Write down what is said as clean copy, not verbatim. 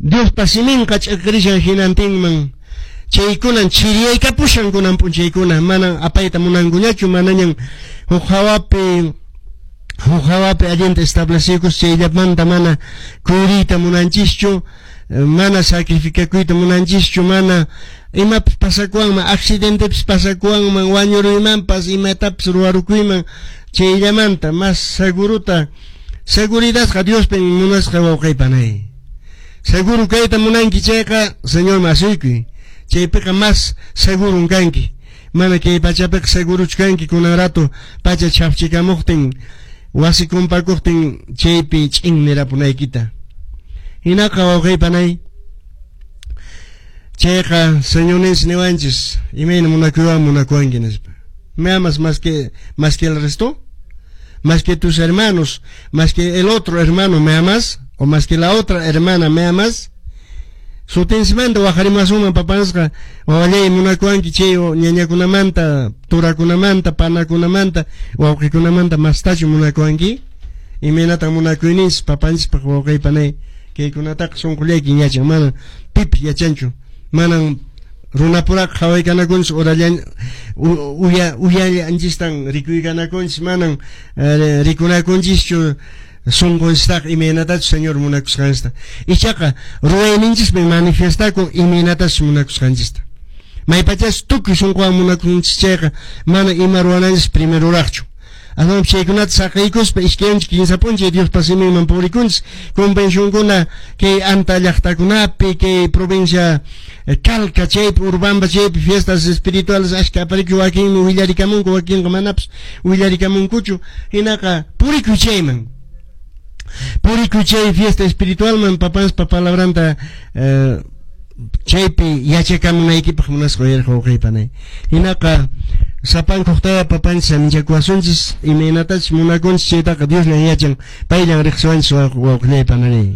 Diospa siminqa ch'iqirishan hinantinman. Chaykunan chiriyaykapushan kunan p'unchaykuna, manan apayta munankuñachu, manañan huk hawapi huk hawapi allinta estableciykus chayllamanta mana kuyuriyta munanchischu, mana sacrificakuyta munanchischu, mana imapis pasakuwanman, accidentepis pasakuwanman, wañuruymanpas, imatapis ruwarukuyman, chayllamanta mas segurota, seguridadqa Diospin munasqa wawqey panay. Seguro kayta munanki chayqa, Señorman asuykuy. Chaypiqa mas segurun kanki. Mana kay pachapiqa seguruchu kanki kunan rato pacha chhafchikamuqtin, wasi kumpakuqtin chaypi ch'in nirapunaykita. Hinaqa wawqey panay, chayqa Señorninchis niwanchis, imayna munakuywan munakuwanki nispa. ¿Me amas más que el resto? ¿Más que tus hermanos? ¿Más que el otro hermano me amas? ¿O más que la otra hermana me amas? Sutinsimanta waqarimasunman papansqa wawallay munakuwanki chay ñañakunamanta, turakunamanta, panakunamanta, wawqikunamanta mastachu munakuwanki? Imaynatan munakuyninchis papanchispaq wawqey panay? Kaykunataqa sunqullaykin yachan, mana pipis yachanchu. Manan runapuraqa qhawaykanakunchis urallan uya uyallanchistan rikuykanakunchis, manan rikunakunchischu sunqunchistaqa imaynatachus Señor munakusqanchista. Ichaqa ruwayninchismi manifiestakun imaynatachus munakusqanchista. Maypachas tukuy sunquwan munakunchis chayqa mana ima ruwananchis primeroraqchu. Aswanpas chaykunata saqiykuspa iskay kinsa p'unchay Diospa siminman purikunchis. Convencionkuna kay anta llaqtakunapi, kay provincia Calca chaypi, Urubamba chaypi fiestas espirituales ashka aparikuy, wakinmi willarikamunku, wakinqa manapas willarikamunkuchu. Hinaqa purikuy chayman. Purikuy chay fiesta espiritualman papanspa palabranta chaypi yachakamunaykipaq munasqa uyariq wawqey panay. Hinaqa sapankuqtaya papanchis saminchakuwasunchis, imaynatachus munakunchis chaytaqa Diosllan yachan, payllan riqsiwanchis wawqillay panay.